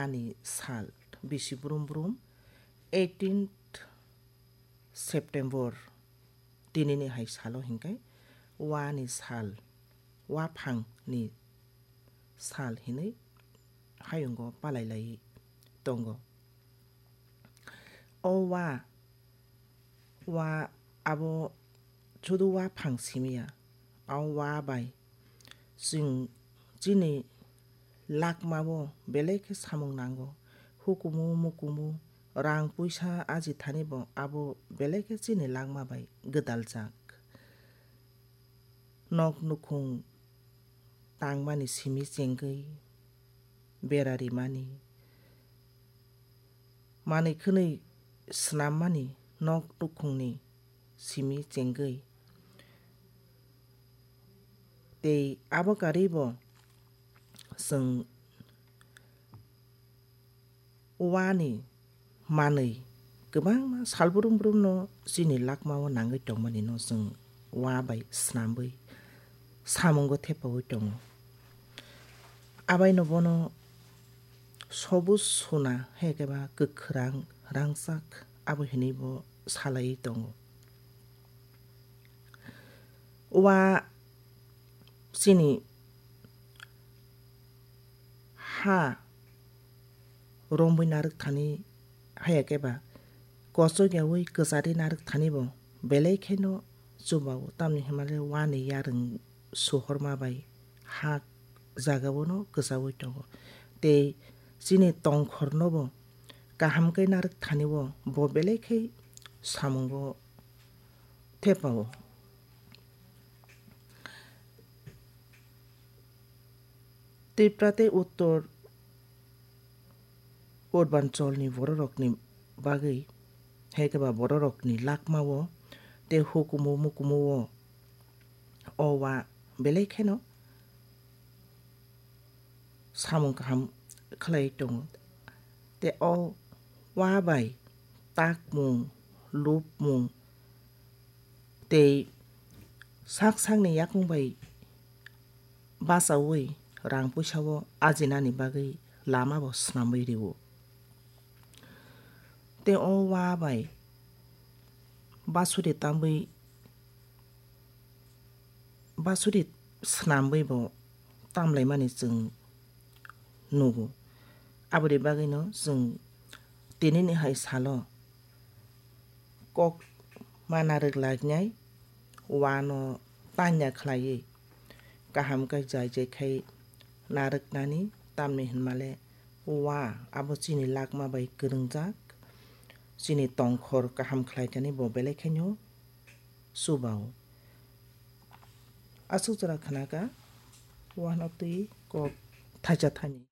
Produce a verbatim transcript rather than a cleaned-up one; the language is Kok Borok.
Ani sal bisi brum brum, eighteenth September, tinini hai salo hinkai wani sal, waphangni sal hinwi hayungo palailai tongo. O wa, wa abo sudu waphang simiya, o wa bai chwng chini lakmao belai khe samung nango. Hukumu mukumu, rang puisa aji thani bo abo belai khe chini lakma bai gwdaljak. Nok nukhung tangmani simi chengwi bera rimani, manwi khwnwi swnammani nok nukhungni simi chengwi. Tei abo karwi bo chwng wani manwi kwbangma sal brum brumno chini lakmao nangwi tongmani no chwng wa bai swnamwi samungo thepaui tongo. Abaino bono sobuj sona hai khe ba kwkhwrang rangchak abo hinwi bo salaiwi tongo. Wa chini ha romwi narwk thani haya khe ba kochok yaui kwchari narwk thani bo belai kheno chubao, tamni hwnmale wani yarwng sohorma bai ha jagao no kwchaui tongo. Tei chini tongkhor no bo kaham khe narwk thani o bo belai khe samungo thepao. Tripura tei Uttor Purbancholni bororokni bagwi, hai khe ba bororokni lakmao tei hukumu mukumu o, o wa belai kheno samung kaham khlai tongo. Tei o wa bai takmung, lupmung tei sak sakni yakung bai bachaui rang puisa o ajinani bagwi lama bo swnamwi rio. Tei o wa bai basuri tamwi, basuri swnamwi bo tamlaimani chwng nugo. Aboni bagwino chwng tinini hai salo kok ma narwk lainai, wano tanya khlaiwi kaham khe jai jai khai narwknani, tamni hwnmale wa abo chini lakma bai kwrwngjak, chini tongkhor kaham khlaikani bo belai khaino chubao. Aswk jora khnakha, wano twi kok thaisa thani.